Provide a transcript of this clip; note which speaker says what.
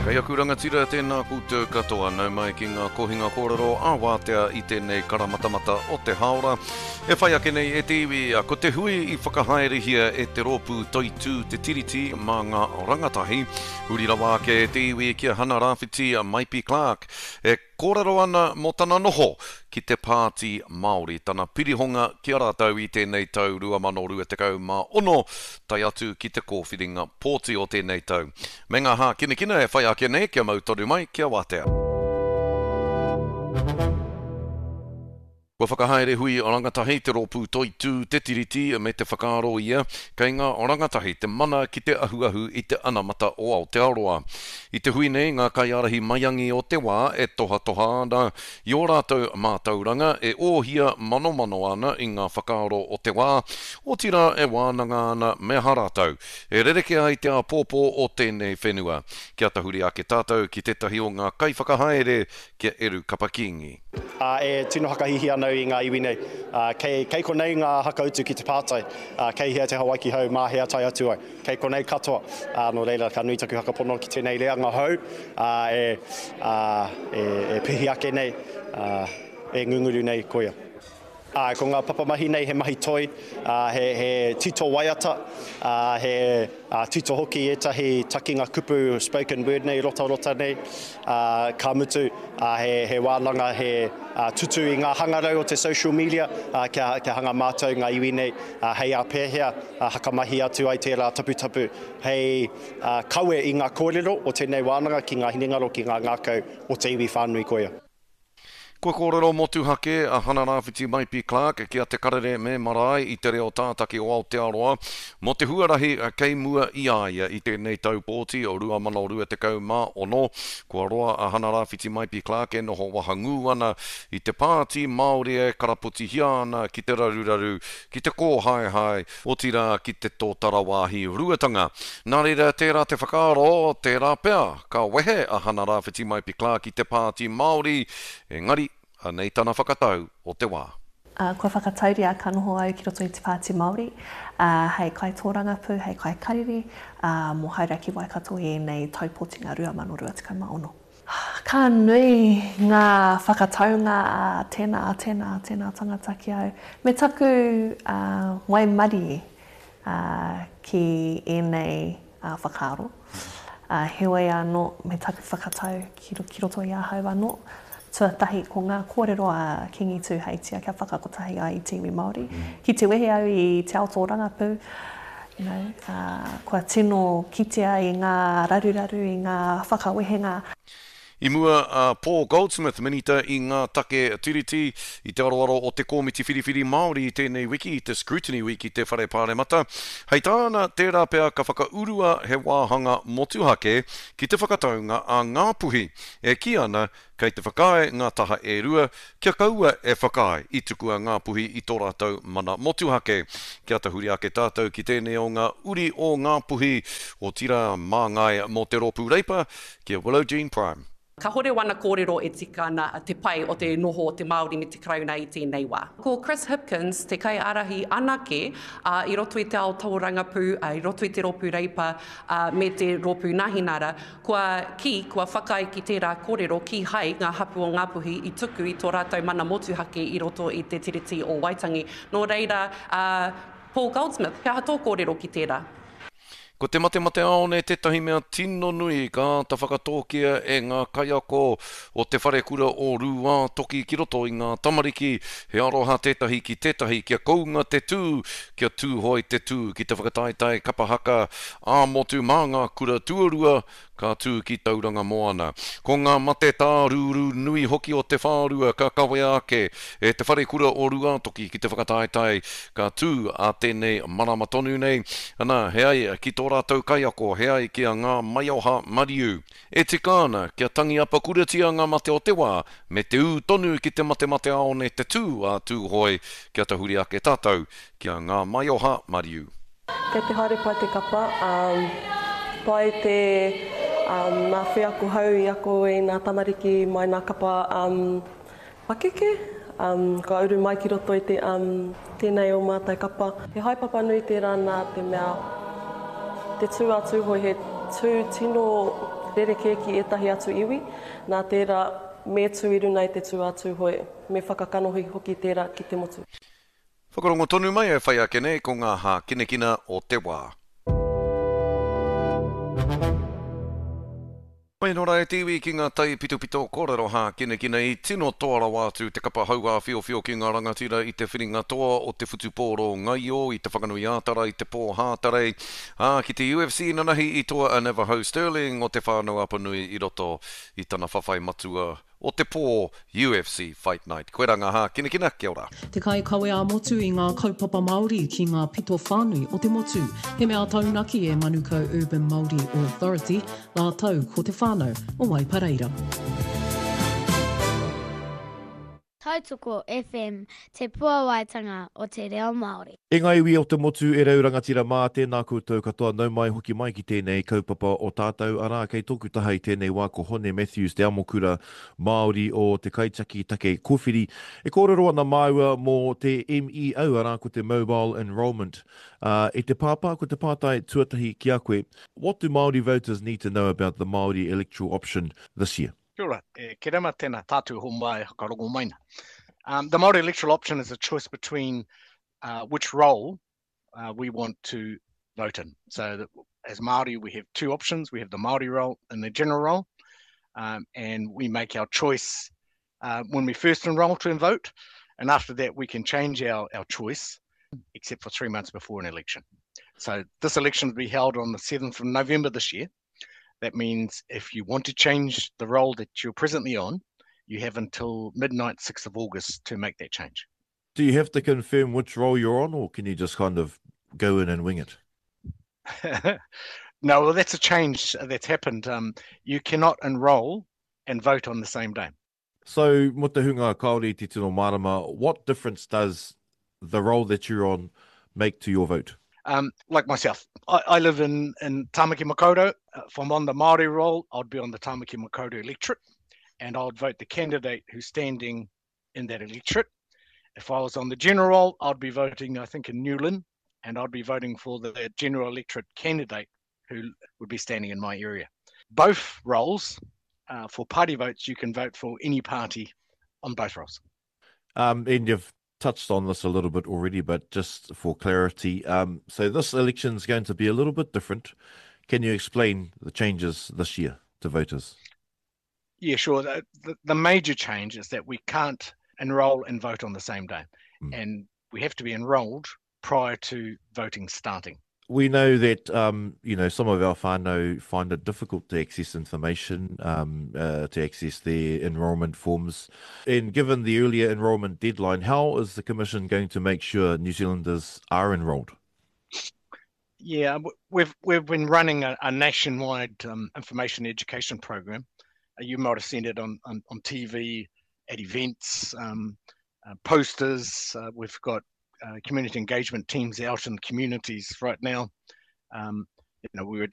Speaker 1: Kei aku rangatira, tēnā koutou katoa, nau mai ki ngā kohinga kōrero ā-wātea i tēnei karamatamata o te hāora. E whai ake nei e te iwi, ko te hui i whakahaerehia e te rōpū Toitū Te Tiriti mā ngā rangatahi, huri rawa ake e te iwi ki a Hana Rāwhiti Maipi Clarke, e Kōrero ana mō tana noho ki te Pāti Māori, tana pirihonga ki a rātou i tēnei tau 2026, tae atu ki te kōwhiringa pōti o tēnei tau. Me ngā hākinakina e whai ake nei, kia mau tonu mai, kia wātea. Kua whakahaere hui rangatahi te rōpū Toitū Te Tiriti me te whakaaro ia kei ngā rangatahi te mana ki te ahuahu i te anamata o Aotearoa. I te hui nei ngā kaiārahi maiangi o te wā e tohatoha ana i ō rātou mātauranga, e ōhia manomano ana i ngā whakaaro o te wā, otirā e wānanga ana me aha rātou e rerekē ai te āpōpō o tēnei whenua. Kia tahuri ake tātou ki tētahi o ngā kaiwhakahaere ki a Eru Kapa-Kingi.
Speaker 2: Ā, e tino whakahīhī ana au i ngā iwi nei. Ā, kei, kei konei ngā hakautu ki te pātai, ā, kei hea te Hawaiki hou, mā hea tae atu ai. Kei konei katoa. Ā, nō reira, ka nui taku whakapono ki tēnei reanga hou, ā, e, ā, e, e pihi ake nei, ā, e ngunguru nei, koia. Ā, ko ngā papamahi nei he mahi toi, ā, he, he tito waiata, ā, he, ā, tito hoki ētahi takinga kupu spoken word nei, rotarota nei, ā, ka mutu, ā, he, he wānanga, he, ā, tutu i ngā hangarau o te social media, ā, kia, kia hanga mātau ngā iwi nei, ā, hei ā pēhea, ā, hakamahi atu ai tērā taputapu hei, ā, kawe i ngā kōrero o tēnei wānanga ki ngā hinengaro, ki ngā ngākau o te iwi whānui koia.
Speaker 1: Kua kōrero motuhake a Hana Rāwhiti Maipi Clarke ki a Te Karere me Marae i te reo tātaki o Aotearoa mō te huarahi kei mua i a ia i tēnei tau pōti o 2026. Kua roa a Hana Rāwhiti Maipi Clarke e noho wahangū ana i te Pāti Māori e karapotihia ana ki te raruraru, ki te kōhaehae, otirā ki te tōtara wāhi ruatanga. Nā reira, tērā te whakaaro, tērā pea, ka wehe a Hana Rāwhiti Maipi Clarke i te Pāti Māori, engari, anei tana whakatau o te wā.
Speaker 3: Ā, kua whakatauria ka noho au ki roto i te Pāti Māori, ā, hei kaitōrangapū, hei kaikariri, ā, mō Hauraki Waikato i ēnei tau pōtinga 2026. Ka nui ngā whakataunga a tēnā, a tēnā, a tēnā tangata ki au. Me taku waimarie ki ēnei whakaaro. Heoi anō, me taku whakatau ki roto i ahau anō. Tuatahi, ko ngā kōrero a Kīngi Tūheitia kia whakakotahi ai i te iwi Māori. Ki te wehe au i te ao tōrangapū, you know, kua tino kitea i ngā raruraru, i ngā whakawehenga.
Speaker 1: I mua a Paul Goldsmith, Minita i ngā take Tiriti, i te aroaro o te Kōmiti Whiriwhiri Māori i tēnei wiki i te Scrutiny Week i te Whare Pāremata. Hei tāna, tērā pea ka whakaurua he wāhanga motuhake ki te whakataunga a Ngāpuhi, e kī ana Kei te whakaae ngā taha e rua kia kaua e whakaae i tukua Ngāpuhi i tō rātou mana motuhake. Kia tahuri ake tātou ki tēnei o ngā uri o Ngāpuhi, otirā māngai mō te Rōpū Reipa, ki a Willow Jean Prime.
Speaker 4: Kahore wana kōrero e tika ana te pai o te noho o te Māori me te Karauna i tēnei wā. Ko Chris Hipkins te kaiārahi anake, ā, i roto i te ao tōrangapū, ā, i roto i te Rōpū Reipa, ā, me te Rōpū Nahinara, Kua kī, kua whakaae ki tērā kōrero kīhai ngā hapū o Ngāpuhi i tuku i tō rātou mana motuhake i roto i te Tiriti o Waitangi. Nō reira, a Paul Goldsmith, he aha tō kōrero ki tērā?
Speaker 1: Ko te matemateāone tētahi mea tino nui ka āta whakatōkia e ngā kaiako o Te Wharekura o Rūātoki ki roto i ngā tamariki, he aroha tētahi ki tētahi kia kounga te tū, kia tūhoe te tū ki te whakataetae kapa haka ā-motu mā ngā kura tuarua ka tū ki Tauranga Moana. Ko ngā mate tārūrū nui hoki o te whārua ka kawea ake e Te Wharekura o Rūātoki ki te whakataetae ka tū ā tēnei marama tonu nei. Ana, he ai ki tō rātou kaiako, he ai ki a Ngā Maioha Mariu. E tika ana kia tangi apakuratia ngā mate o te wā me te ū tonu ki te matemateāone te tū a Tūhoe kia tahuri ake tātou ki a Ngā Maioha Mariu.
Speaker 5: Kei te haere pai te kapa, pai te ngā wheako hou i ako i ngā tamariki mai ngā kapa pakeke, kua uru mai ki roto i te tēnei o mātou kapa. He haepapa nui tērā nā te mea te tū a Tūhoe he. tū tino rerekē ki ētahi atu iwi, nā tērā me tū i runa i te tū a Tūhoe, me whakakanohi hoki tērā ki te motu.
Speaker 1: Whakarongo tonu mai e whai ake nei ko ngā hākinakina o te wā. Mai nō rā e te iwi ki ngā taipitopito kōrero hākinakina i tino toa rawa atu te kapa hauāwhiowhio ki ngā rangatira i te whiringa toa o te whutupōro ngaio i Te Whanganui-ā-Tara i te pō Hātarei, ā, ki te UFC nanahi i toa a Navajo Stirling o Te Whānau-a-Apanui i roto i tana whawhai matua o te pō UFC Fight Night. Koirā ngā hākinakina, kia ora.
Speaker 6: Te kaikawe ā-motu i ngā kaupapa Māori ki ngā pito whānui o te motu. He mea taunaki e Manukau Urban Māori Authority rātou ko te whānau o Waipareira.
Speaker 7: Tautoko FM, te puawaitanga o te reo Māori.
Speaker 8: E ngā iwi o te motu, e rau rangatira mā, tēnā koutou katoa, nau mai hoki mai ki tēnei kaupapa o tātou, arā, kei tōku taha i tēnei wā ko Hone Matthews, te amokura Māori o te Kaitiaki Take Kōwhiri. E kōrero ana māua mō te MEO, arā, ko te Mobile Enrolment. Ā, e te pāpā, ko te pātai tuatahi ki a koe, what do Māori voters need to know about the Māori electoral option this year?
Speaker 9: Kia ora, e Kerema, tēnā tātou ho mai whakarongo mai na. Um, the Māori electoral option is a choice between uh, which role uh, we want to vote in. So that as Māori, we have two options. We have the Māori role and the general role. Um, and we make our choice uh, when we first enrol to vote. And after that, we can change our, our choice, except for three months before an election. So this election will be held on the 7th of November this year. That means if you want to change the role that you're presently on, you have until midnight, 6th of August, to make that change.
Speaker 8: Do you have to confirm which role you're on, or can you just kind of go in and wing it?
Speaker 9: no, well, that's a change that's happened. Um, you cannot enroll and vote on the same day.
Speaker 8: So, mō te hunga kāore i te tino mārama, what difference does the role that you're on make to your vote?
Speaker 9: Um, like myself, I, I live in, in Tāmaki Makaurau. Uh, if I'm on the Māori roll, I'd be on the Tāmaki Makaurau electorate and I'd vote the candidate who's standing in that electorate. If I was on the general roll, I'd be voting, I think, in New Lynn, and I'd be voting for the general electorate candidate who would be standing in my area. Both rolls, uh, for party votes, you can vote for any party on both rolls.
Speaker 8: Um, and you've touched on this a little bit already, but just for clarity, um, so this election is going to be a little bit different. Can you explain the changes this year to voters?
Speaker 9: Yeah, sure. The, the, the major change is that we can't enroll and vote on the same day. Mm. And we have to be enrolled prior to voting starting.
Speaker 8: We know that um, you know some of our whānau find it difficult to access information, um, uh, to access their enrolment forms. And given the earlier enrolment deadline, how is the Commission going to make sure New Zealanders are enrolled?
Speaker 9: Yeah, we've we've been running a, a nationwide um, information education program. Uh, you might have seen it on on, on TV, at events, um, uh, posters. Uh, we've got uh, community engagement teams out in communities right now. Um, you know, we were